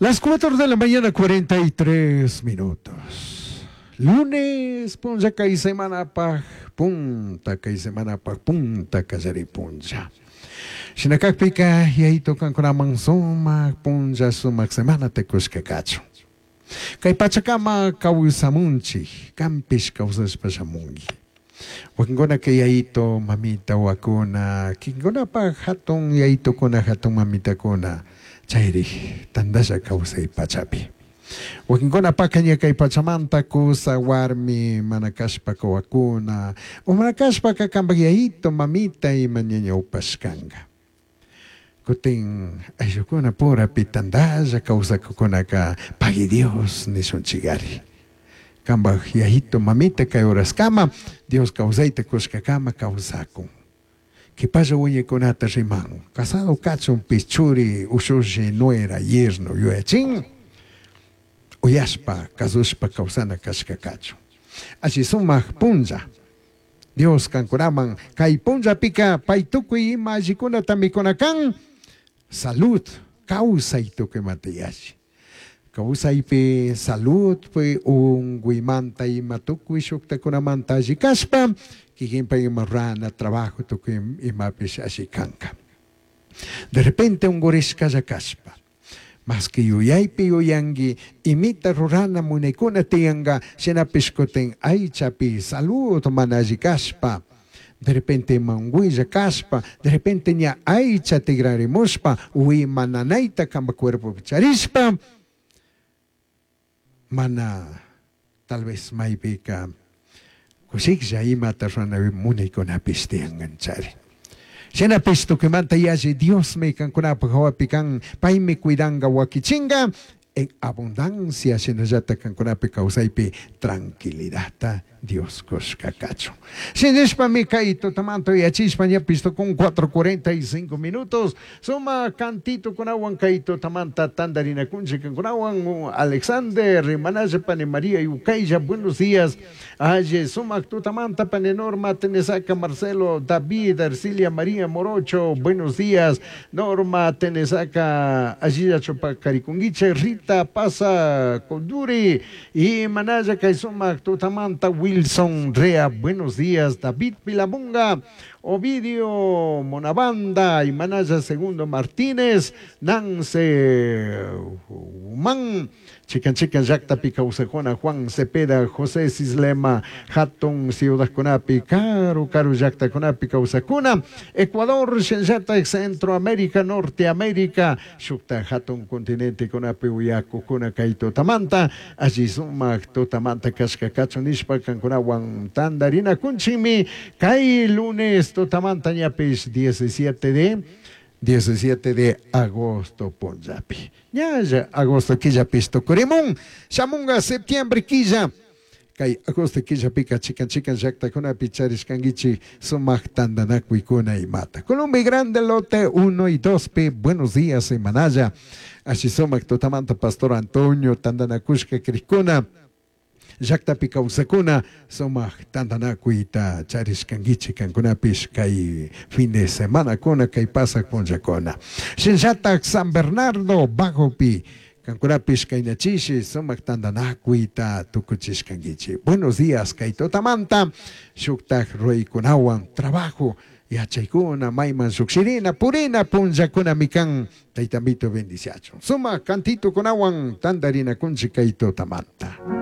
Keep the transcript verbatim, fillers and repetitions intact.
Las cuatro de la mañana, cuarenta y tres minutos. Lunes, punlla kay semanapaj punta, kay semanapaj punta kallari punlla. Shinakakpika, Yayito kankunaman sumak punlla, sumak semanata kushka kachun. Kay pachakama kawsamunchik, kanpish kawsashpa shamunki. Wakinkunaka yayito, mamita, wakuna, kikinkunapaj hatun yayitukuna, hatun mamitakuna, chayri tantalla kawsay pachapi. Wakinkunapaka ña kay pachamanta kusa, warmi, mana kashpaka wakuna, o mana kashpaka kanpak yayito, mamita ima ñañawpashkanka. Kutin ayllukuna purapi tantalla kawsakukunaka pagui Dios nishunchikari. Kanpak yayito, mamita kay horaskama Dios kawsayta kushkakama kawsakun. Kipalla wiñaykunata riman. Casado kachunpish churi, ushushi, nuera, yerno yuyachin. Uyashpa, kasushpa kawsana kashka kachun. Alli sumak punlla. Dios kankunaman kay punllapika pay tukuy ima allikunata mikuna kan. Salud, kawsay tukuymanta yalli. Kawsaypi saludpi unkuymanta ima tukuy shuktakunamanta alli kashpa kikinpa ima rurana trabajo tukuy imapish alli kanka. De repente unkurishkalla kashpa maski yuyaypi yuyanki imita rurana munaykuna tiyanka, shinapish kutin aychapi salud mana alli kashpa, de repente ima unkuylla kashpa, de repente ña aycha tigrarimushpa wima nanayta kanpak cuerpopi charishpa, mana tal vez maypika kushiklla imata rurana munaykunapish tiyankanchari. Shinapish tukuymanta yalli Diosmi kankunapaj hawapi kan, paymi cuidanka, wakichinka en abundancia, shinallata kankunapi kawsaypi tranquilidadta Dios kushka kachun. Shinashpami kay tutamanta yachishpa ñapish tukun cuatro cuarenta y cinco minutos. Suma cantito kunawan kay tutamanta tantarinakunchik kankunawan. Alexander, Rimanalla, pani María Yucaylla, buenos días. Aye, sumak tutamanta pani Norma Tenesaca, Marcelo, David, Arcilia María Morocho, buenos días. Norma Tenesaca, allí Chopacarikunguiche, Rita Pasa Conduri y Manaya kay sumak tutamanta Wilson Rea, buenos días. David Pilamunga, Ovidio Monabanda y Manaya Segundo Martínez, Nance Humán, Chican Chican llaktapi kawsakuna, Juan Cepeda, José Sislema, Hatun ciudadkunapi, Karu Karu llaktakunapi kawsakuna, Ecuador, shinallata Centroamérica, Norteamérica, shukta hatun continentekunapi uyakukuna kay tutamanta, alli sumak tutamanta kashka kachun nishpa kankunawan tantarinakunchikmi, kay lunes tutamanta ñapish diecisiete de diecisiete de agosto punllapi. Ñalla agosto killapish tukurimun, shamunga septiembre killa. Kay agosto killapika chikan chikan llaktakunapi charishkankichik sumak tantanakuykuna imata. Colombia Grande lote uno y dos P, buenos días semanalla. Alli sumak tutamanta Pastor Antonio tantanakushka krikuna. Llaktapi kawsakuna sumak tantanakuyta charishkankichik kankunapish kay fin de semana kuna kay pasak punllakuna. Shinllatak San Bernardo Bajopi kankunapish kaynachishi sumak tantanakuyta tukuchishkankichik. Buenos días kay tutamanta shuktak ruraykunawan trabajo yachaykuna mayman shukshirina purina punllakunami kan taytamito bendiciachun. Sumak cantito kunawan tantarinakunchik kay tutamanta.